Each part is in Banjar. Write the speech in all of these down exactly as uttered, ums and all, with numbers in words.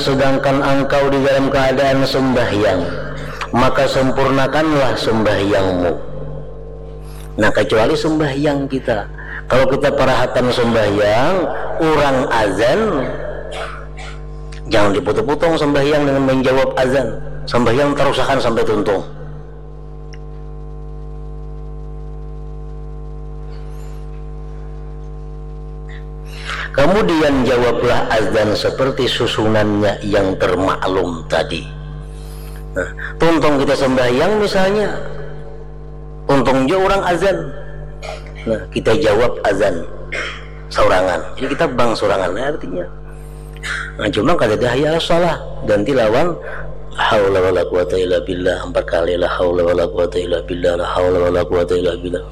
sedangkan engkau di dalam keadaan sembahyang, maka sempurnakanlah sembahyangmu. Nah, kecuali sembahyang kita. Kalau kita parahatan sembahyang, urang azan, jangan diputung-putung sembahyang dengan menjawab azan. Sembahyang tarusakan sampai tuntung. Kemudian jawablah azan seperti susunannya yang termaklum tadi. Nah, tuntung kita sembahyang misalnya, tuntung jua urang azan. Nah, kita jawab azan saurangan. Jadi kita bang saurangan, nah, artinya. Nah, cuma kada ada hayya ala shalah, ganti lawan la haula wala quwata illa billah empat kali, la haula wala quwata illa billah, la haula wala quwata illa billah.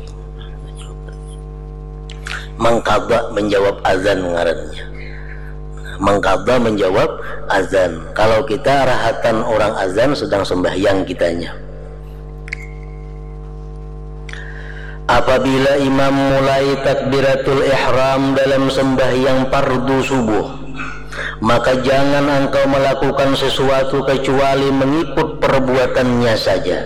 Mangkada menjawab azan ngarannya. Mangkada menjawab azan. Kalau kita rahatan orang azan sedang sembahyang kitanya. Apabila imam mulai takbiratul ihram dalam sembahyang fardu subuh, maka jangan engkau melakukan sesuatu kecuali mengikut perbuatannya saja.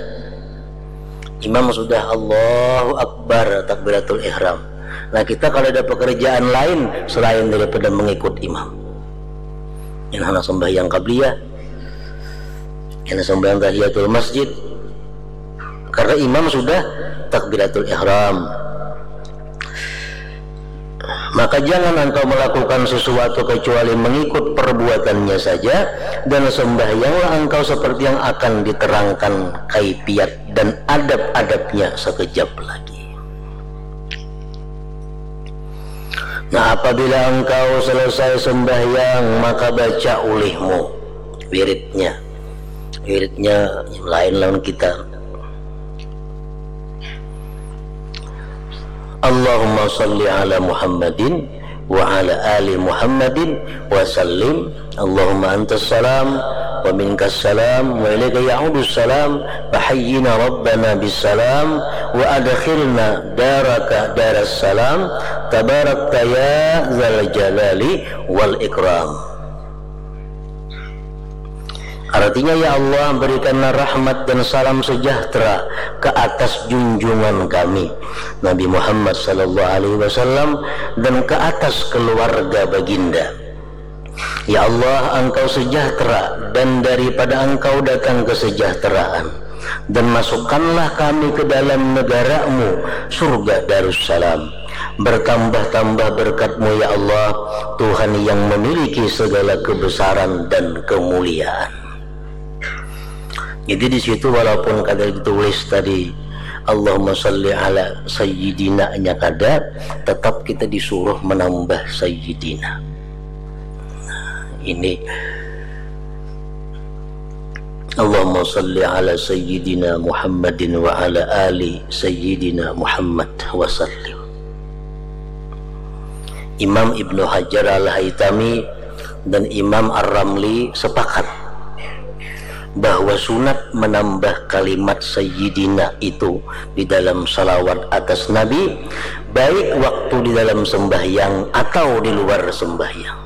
Imam sudah Allahu Akbar takbiratul ihram. Nah, kita kalau ada pekerjaan lain selain daripada mengikut imam. Yang hendak sembahyang qabliyah, yang hendak sembahyang tahiyatul masjid, karena imam sudah takbiratul ihram. Maka jangan engkau melakukan sesuatu kecuali mengikut perbuatannya saja, dan sembahyanglah engkau seperti yang akan diterangkan kaifiat dan adab-adabnya sekejap lagi. Nah, apabila engkau selesai sembahyang, maka baca ulihmu wiridnya. Wiridnya lain lawan kita. Allahumma salli ala Muhammadin wa ala ali Muhammadin wa sallim. Allahumma antas salam wa minkas salam wa ilaika ya'udus salam. Fa hayyina rabbana bis salam wa adkhilna daraka daras salam. Tabarakta ya zal jalali wal ikram. Artinya, ya Allah, berikanlah rahmat dan salam sejahtera ke atas junjungan kami, Nabi Muhammad sallallahu alaihi wasallam, dan ke atas keluarga baginda. Ya Allah, Engkau sejahtera, dan daripada Engkau datang kesejahteraan. Dan masukkanlah kami ke dalam negara-Mu, surga Darussalam. Bertambah-tambah berkat-Mu, ya Allah, Tuhan yang memiliki segala kebesaran dan kemuliaan. Jadi, di situ walaupun kada ditulis tadi, "Allahumma shalli ala sayyidina"-nya kada, tetap kita disuruh menambah sayyidina. Nah, ini, "Allahumma shalli ala sayyidina Muhammadin wa ala ali sayyidina Muhammad wa sallim." Imam Ibnu Hajar Al-Haytami dan Imam Ar-Ramli sepakat bahwa sunat menambah kalimat sayyidina itu di dalam salawat atas Nabi, baik waktu di dalam sembahyang atau di luar sembahyang.